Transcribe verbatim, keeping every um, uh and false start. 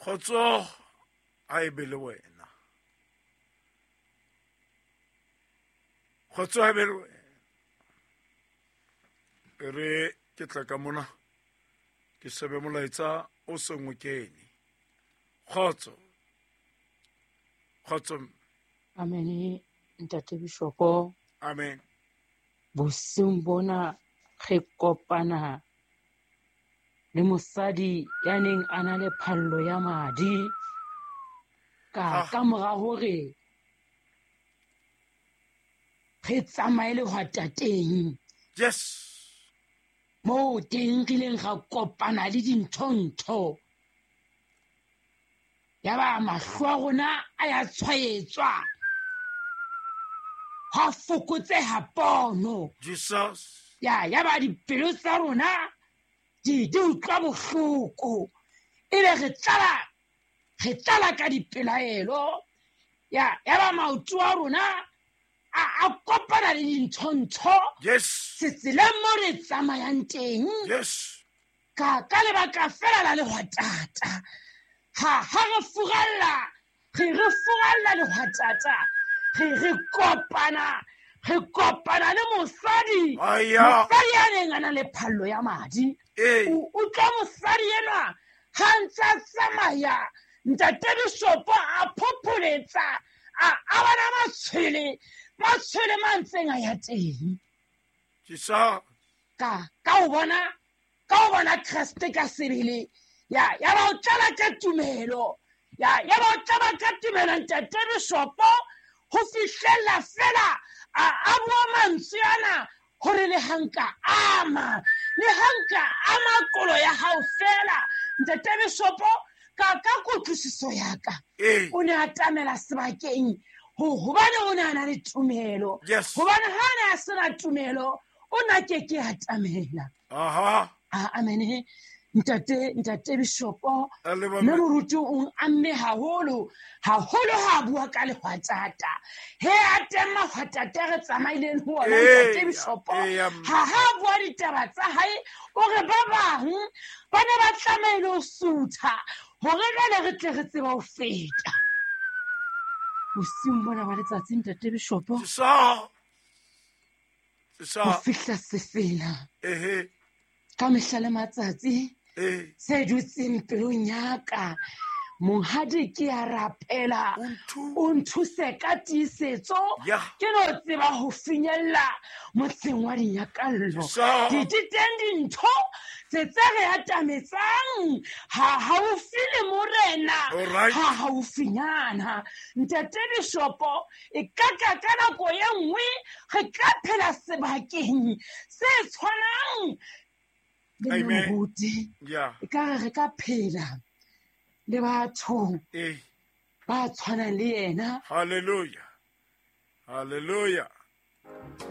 Kgotso a e be le wena. Kgotso a e be le wena. E re ke tla ka mona ke shebe molaetsa o seng o kene. Kgotso. Kgotso. Amen, Ntate Bishopo. Amen. Bosiung bona re kopana le mosadi ya neng a na le phallo ya madi ka ka mora hore re tsamaye lehwatateng. Yes. Moo teng re ileng ra kopana le dintho-ntho. Yaba mahlo a rona a ya tshwaetswa. Ha fokotseha pono. Jesus. Ya yaba dipelo tsa rona di di utlwa bohloko. Ebe re tlala re tlala ka dipelaelo. Ya yaba maoto a rona a a kopana le dintho-ntho. Yes. Tseleng mo re tsamayang teng. Yes. Ka ka lebaka fela la lehwatata. Ha ha re furalla, re re furalla lehwatata. Re re kopana, re kopana le mosadi. Mosadi ya neng a na le phallo ya madi. O utlwa mosadi enwa ha ntse a tsamaya, Ntate Bishopo a phopholetsa, a a bona matshwele, matshwele mantseng a ya teng. Jesus. Ka ka o bona, ka o bona Kreste ka sebele. Ya ya ba o tlala ka tumelo. Ya ya ba o tlala ka tumelo Ntate Bishopo. Ho fihlella fela a a bua mantswe ana hore le hanka ama le hanka ama kolo ya hao fela. Ntate Bishopo ka ka kutlwisiso ya ka o ne a tamela sebakeng ho hobane o ne a na le tumelo. Hobane ha ne a sena tumelo o na ke ke a tamela. Aha. Amen. Ntate Ntate Bishopo mme moruti o amme haholo haholo ha bua ka lehwatata. He a teng mahwatata re tsamaileng ho ona Ntate Bishopo. Ha ha bua ditaba tsa hae o re ba bang ba ne ba tlamehile ho sutha hore jwale re tle re tsebe ho feta. Bosiung bona ba letsatsi Ntate Bishopo. Ho fihla sefela. Ehe. Ka mehla le matsatsi se dutseng pelong ya ka monghadi ke a rapela o nthuse ka tiisetso ke no tseba ho finyella motseng wa dinyakallo. Di teng dintho tse tse re atametsang ha haufi le morena ha haufinyana. Ntate Bishopo e ka ka ka nako e nngwe re ka phela sebakeng se tshwanang le moruti. E ka re re ka phela le batho ba tshwanang le yena. Hallelujah. Hallelujah.